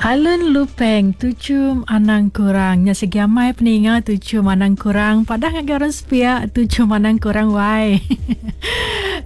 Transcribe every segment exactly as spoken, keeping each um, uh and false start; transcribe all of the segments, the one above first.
Alun Lupeng tuchum anang kurang. Nya segi amai peninga tuchum anang kurang. Padah ngagai orang sepiak tuchum anang kurang wai.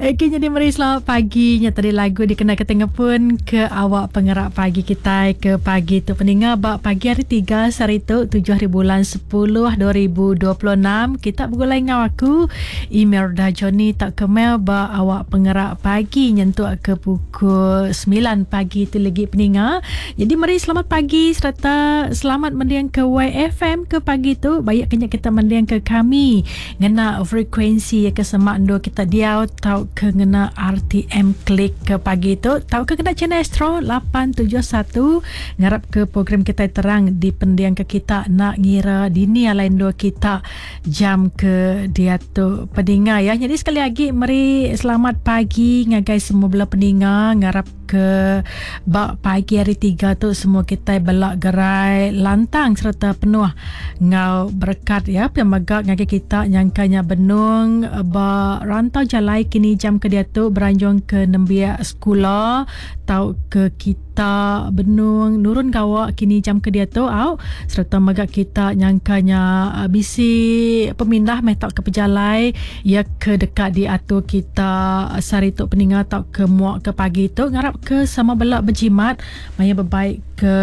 Okey, jadi meri selamat pagi. Nya tadi lagu dikena ke tengah pun ke awak pengerak pagi kita ke pagi tu peninga bak pagi hari tiga sehari tu tujuh hari bulan sepuluh dua ribu dua puluh enam. Kita bergulai ngau aku email dah Johnny tak kemel bak awak pengerak pagi nyentuk ke pukul sembilan pagi tu lagi peninga. Jadi meri selamat pagi serta selamat mendiang ke Y F M ke pagi tu. Baik kena kita mendiang ke kami ngena frekuensi ke semak ndo kita diau tau ke ngena R T M klik ke pagi tu tau ke kena channel Astro lapan tujuh satu. Ngarap ke program kita terang di pendiang ke kita nak ngira dini alain dua kita jam ke dia tu peninga ya. Jadi sekali lagi meri selamat pagi ngagai semua bela peninga. Ngarap ke bak pagi hari tiga tu semua kita belak gerai lantang serta penuh ngau berkat ya. Pemegak ngagai kita nyangkanya benung ba rantau jalai kini jam ke dia tu beranjung ke nembiak sekolah tau ke kita benung nurun gawak kini jam ke dia tu au serta megak kita nyangkanya bisi pemindah meh tau ke pejalai ya ke dekat diatur kita sehari tu peninga tau ke muak ke pagi tu. Ngarap ke sama belak berjimat maya berbaik ke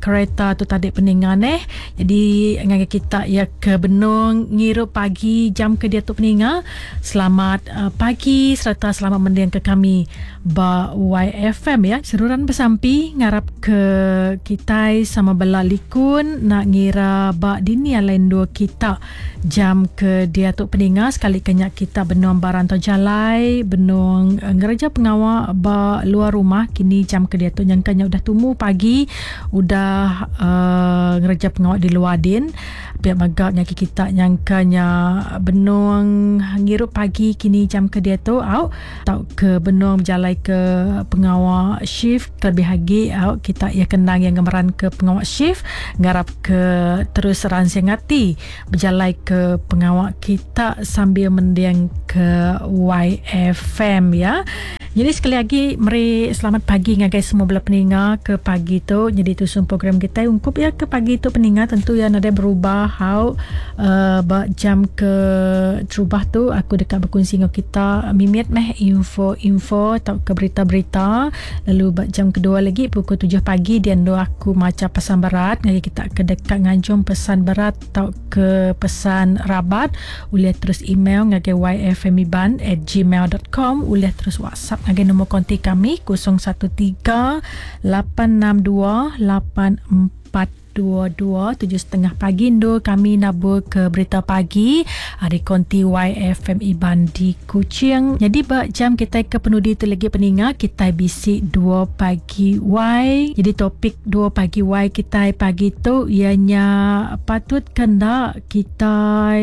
kereta tu tadi peninga neh. Jadi ngagai kita ya ke benung ngirup pagi jam ke dia tu peninga, selamat uh, pagi serta selamat mendiang ke kami ba Y F M ya. Seruran bersampi ngarap ke kita sama bela likun nak ngira ba dini lain dua kita jam ke dia tu peninga. Sekali kenyak kita benung barang atau jalai benung uh, ngereja pengawak ba luar rumah kini jam ke dia tu nyangkanya udah tumu pagi udah uh, ngereja pengawak di luar din. Pihak magak nyaki kita nyangkanya benung ngirup pagi kini jam ke dia tu au tau ke benung berjalai ke pengawak shift terlebih lagi au kita ia kenang yang gemeran ke pengawak shift. Ngarap ke terus ransing hati berjalai ke pengawak kita sambil mendiang ke Y F M ya. Jadi sekali lagi meri selamat pagi ngagai semua bela peninga ke pagi tu. Jadi tu program kita ungkup ya ke pagi tu peninga tentu ya nadai berubah how uh, ba jam ke terubah tu aku dekat berkongsi dengan kita mimit meh info-info atau ke berita-berita. Lalu ba jam kedua lagi pukul tujuh pagi dia ndo aku maca pesan berat ngagai kita ke dekat nganjung pesan berat atau ke pesan rabat boleh terus email ngagai y f m iban at gmail dot com, boleh terus WhatsApp ngagai nombor kontak kami kosong satu tiga lapan enam dua lapan empat dua dua. Tujuh setengah pagi ndo kami nabur ke berita pagi hari konti Y F M Iban di Kuching. Jadi bak jam kita ke penudi tu lagi peninga kita bisi dua pagi Y. Jadi topik dua pagi Y kita pagi tu ianya patut kena kita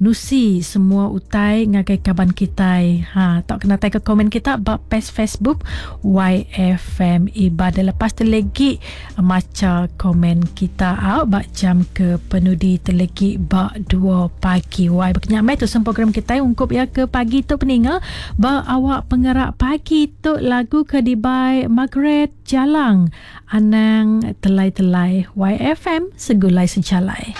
nusi semua utai ngagai kaban kita. Ha tak kena tai ke komen kita bak page Facebook Y F M Iban. Lepas tu lagi maca komen kita kita out bak jam ke penudi terlegi bak dua pagi. Wai berkenyak mai tu sem program kita ungkup ya ke pagi tu peninga bak awak pengerak pagi tu lagu ke dibai Margaret Jalang Anang Telai-telai. Y F M segulai sejalai.